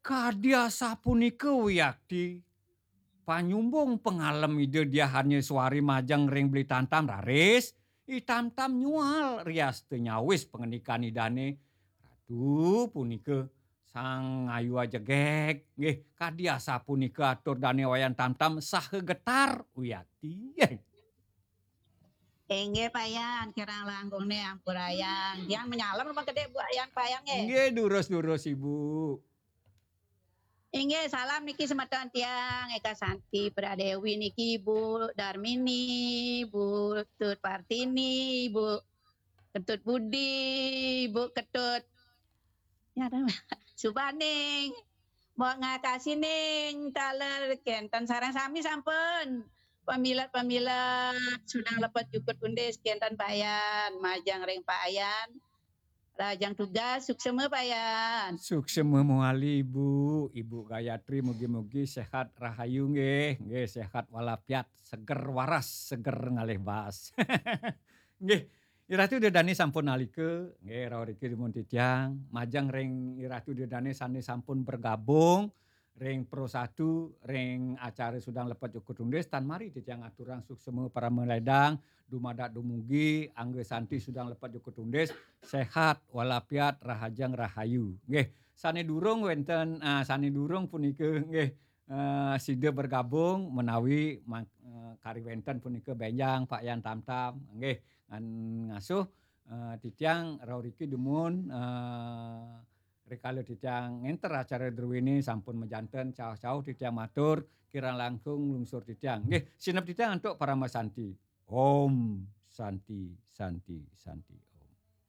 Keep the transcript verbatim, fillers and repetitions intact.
Kadi asapunika wiakti, panyumbung pangalem Ida Diah Arnya Suari majeng ring Beli Tamtam raris, I Tamtam nyual riasta nyawis pangandikan Idane, "Ratu punika Sang Ayu Ajegeg, nggih, kadi asapunika atur dane Wayan Tamtam saha getar wiakti." Inggih, Payan, kirang langkungne ampurayang. Tiang manyalem rumah gede, Bu Ayan, Payan, nggih. Nggih, durus-durus, Ibu. Inggih, salam niki semeton tiang, Eka Santi Pradewi niki, Bu Darmini, Bu Tut Partini, Bu Ketut Budi, Bu Ketut, ya, Subaning, Mbok Ngakasining, taler kenten sareng sami sampun. Pamilet-pamilet, sudang lepet jukut undis, kenten Payan, majeng ring Payan. Rahajeng tugas, suksema Payan. Suksema mawali, Ibu. Ibu Gayatri, mugi-mugi sehat rahayu nggih. Nggih, sehat walafiat, seger waras, seger ngalih baas. Nggih, Iratu Ida Dane sampun nalika, nggih, rauh riki dumun titiang, majeng ring Iratu Ida Dane sane sampun bergabung ring Pro Satu, ring acara Sudang Lepet Jukut Undis, tan mari titiang aturang suksema parama ledang, dumadak dumugi, angga santi Sudang Lepet Jukut Undis, sehat walafiat, rahajeng rahayu. Nggih, sane durung wenten, ah, sane durung punika, nggih, eh, sida bergabung menawi mang-, eh, kari wenten punika benjang Pak Yan Tamtam, nggih, ngan-, ngasuh, eh, titiang rauh riki dumun, eh, rikala titiang ngenter acara druene sampun majanten, cauh-cauh titiang matur, kirang langkung lungsur titiang. Nggih, sineb titiang antuk parama santi. Om Santi, Santi, Santi.